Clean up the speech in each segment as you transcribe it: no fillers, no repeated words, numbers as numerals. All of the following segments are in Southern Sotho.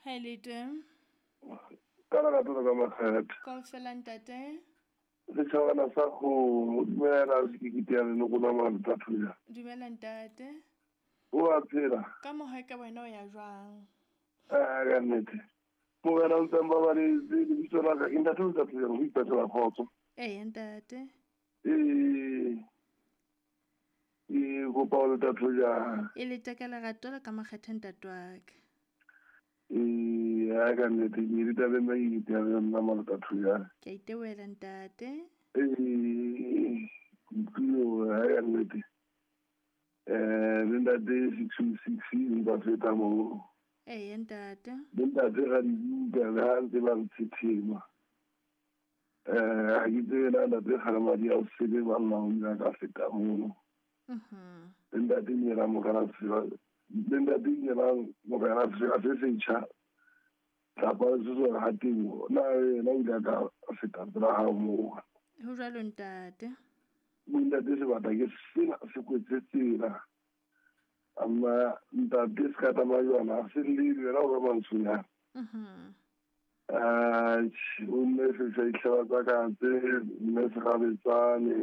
Ha e le teng. Ka lerato le ka makgethe. Kaofela ntate. Setjhabana sa kgomo, dumela sekikiti ya leloko la Maltathuja. Dumela ntate. O a phela? Ka moha ka wena o ya jwang? Ah, ka nnete. Morena o ntseng ba baletse lebitso la ka ke ntate o tla ho ipatlela kgotso. Ee ntate. Ee. Ke kopa ho Letathuja. E le teka lerato le ka makgethe ntate wa ka. Ee, ha ka nnete ke ditabeng tsa kikiti ya nna Maltathuja. Ke a itebohela ntate. Ee, ke utlwile hore ha ka nnete. Le ntate 626 nka feta moo. Ee ntate. Le ntate ga dibuka le ha ntse ba ntshethema. Ha ke tsebe na ntate Kgalemadi a o sele banna o ile a ka feta mono. Le ntate Nyelang Morena Sefela, le ntate Nyelang Morena Sefela se setjha. Tlapa le se ha temo. Na yena o ile a ka feta pela hao moo. Ho jwalo ntate. Ntate sebata ke sena se kwetse tsela. Amma ntate se ka tsamaya jwana se llele yena o ba mantshonyana. O mme se sa itlhela tsa ka tse mme se gabetsane.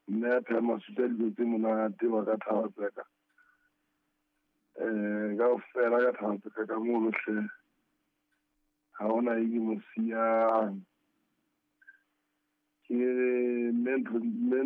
Mme a pheha masutsa dijo tse monate wa ka thaba tsaka. Kaofela ka thaba tsaka ka mono hle. Ha hona e ke mo siyang. Ke mme ntho mme